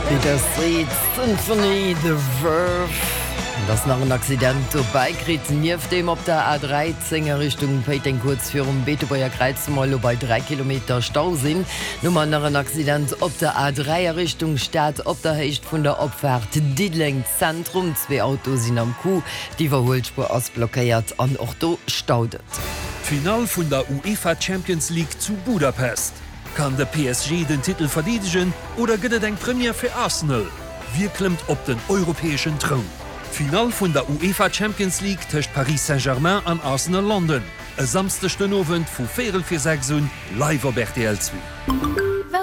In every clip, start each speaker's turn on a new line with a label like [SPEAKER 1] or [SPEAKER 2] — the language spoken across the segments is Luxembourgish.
[SPEAKER 1] Bittersweet Symphony, The Verve. Et ass nach en Accident dobäi kritt. Nieft deem op der A13 a Richtung Péiteng kuerz virum Beetebuerger Kräiz, wou mer elo bei 3 Kilometer Stau sinn. Hu mer nach en Accident op der A3 a Richtung Stad op der Héicht vun der Opfaart Diddeleng Zentrum. Zwee Autoe sinn am Coup, d'Iwwerhuelspuer ass blockéiert an och do staut et.
[SPEAKER 2] D'Finall vun der UEFA Champions League zu Budapest. Kann de PSG den Titel verdeedegen oder gëtt et eng Première fir Arsenal? Wie klëmmt op den europäeschen Troun? D'Finall vun der UEFA Champions League tëscht Paris Saint-Germain an Arsenal London e Samsdeg den Owend vu véierel vir 6 un live op rtl 2.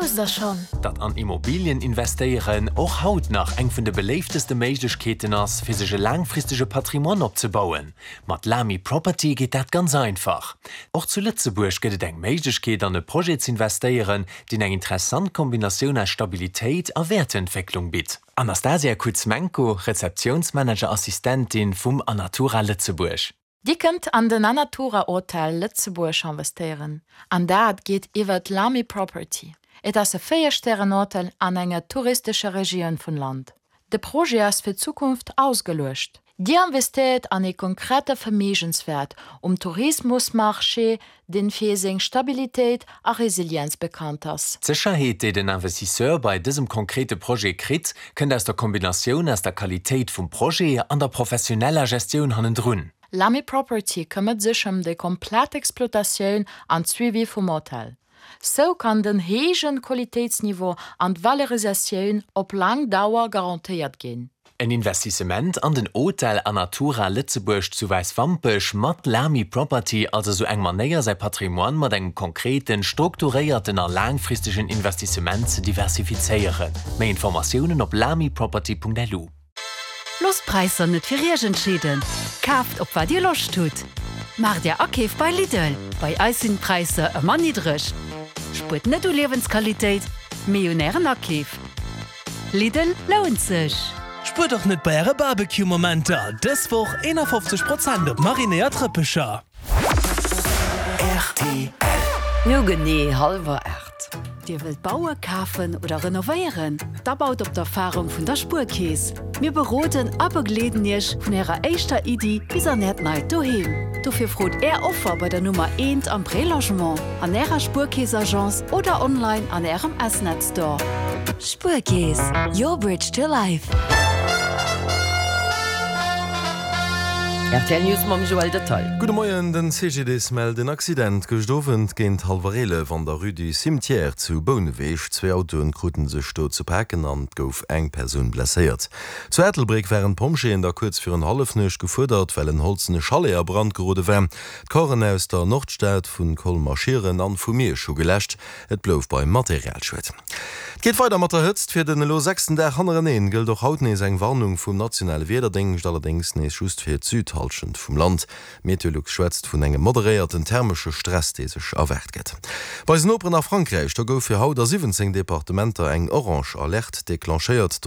[SPEAKER 3] Wousst der schonn?
[SPEAKER 4] Datt an Immobilien investéieren och haut nach eng vun de beléifteste Méiglechkeeten ass, fir sech e laangfristege Patrimoine opzebauen? Mat Lamy Property geet dat ganz einfach. Och zu Lëtzebuerg gëtt et eng Méiglechkeet an e Projet z'investéieren, deen eng interessant Kombinatioun aus Stabilitéit a Wäertentwécklung bitt. Anastasia Kuzmenko, Rezeptiounsmanager-Assistentin vum Anatura Lëtzebuerg.
[SPEAKER 3] Dir kënnt an den Anatura Hotel Lëtzebuerg investéieren, an dat geet iwwert Lamy Property. Et ass e 4 Stären Hotel an enger touristescher Regioun vun Land. De Projet ass fir d'Zukunft ausgeluecht. Dir investéiert an ee konkrete Verméigenswäert um Tourismusmarché, deen fir seng Stabilitéit a Resilienz bekannt ass.
[SPEAKER 4] D'Sécherheet, déi den Investisseur bei dësem konkrete Projet kritt, kënnt aus der Kombinatioun aus der Qualitéit vum Projet an der professioneller Gestioun hannendrun.
[SPEAKER 3] Lamy Property këmmert sech ëm déi komplett Exploitatioun an d'Suivi vum Hotel. Sou kann den héijen Qualitéitsniveau an d'Valorisatioun op laang Dauer garantéiert ginn.
[SPEAKER 4] En Investissement an den Hotel Anatura Lëtzebuerg zu Wäiswampech mat Lamy Property, also sou eng Manéier säi Patrimoine mat engem konkreten, strukturéierten a laangfristegen Investissement ze diversifizéieren. Méi Informatiounen op lamyproperty.lu.
[SPEAKER 5] Loosst d'Präisser net fir Iech entscheeden, kaaft op wat Dir Loscht hutt. Maacht Är Akeef bei Lidl, bei eis sinn d'Präisser ëmmer niddreg. Spuert net u Liewensqualitéit, mee un Ären Akeef. Lidl lount sech!
[SPEAKER 2] Spuert och net bei äre Barbecue-Momenter! Dës Woch 51 Prozent op marinéiert Rëppecher.
[SPEAKER 1] Rtl. No genee hallwer 8.
[SPEAKER 5] Dir wëllt baue, kafen oder renovéieren? Da baut op d'Erfarung vun der Spuerkeess. Mir beroden a begleeden Iech vun Ärer éischter Iddi bis an Äert neit Doheem. Dofir frot Är Offer bei der Nummer eent am Prélogement, an Ärer Spuerkeess-Agence oder online an Ärem S-Net Store.
[SPEAKER 6] Spuerkeess, your bridge to life.
[SPEAKER 1] Rtl News mam Joël Detail.
[SPEAKER 7] Gudde Moien, Den CGDIS mellt en Accident gëscht Owend géint hallwer 11 an der Rue du Cimetière zu Bouneweg. Zwee Autoen kruten sech do ze paken an et gouf eng Persoun blesséiert. Zu Ettelbréck waren d'Pompjeeën da kuerz virun Hallefnuecht gefuerdert, well en holzene Chalet a Brand gerode war. D'Corpsen aus der Nordstad, vu Colmer-Schieren an vu Miersch hu geläscht. Et blouf beim Materialschued. Et geet weider mat der Hëtzt. Fir den elo sechsten Dag hannereneen gëllt och haut nees eng Warnung vum nationale Wiederdéngscht, allerdéngs nees just fir d'Südhallschent vum Land. Meteolux schwätzt vun engem moderéierten thermesche Stress, dee sech erwaart gëtt. Bei eisen Noperen a Frankräich, do gouf fir haut a 17 Departementer eng orange Alerte declenchéiert.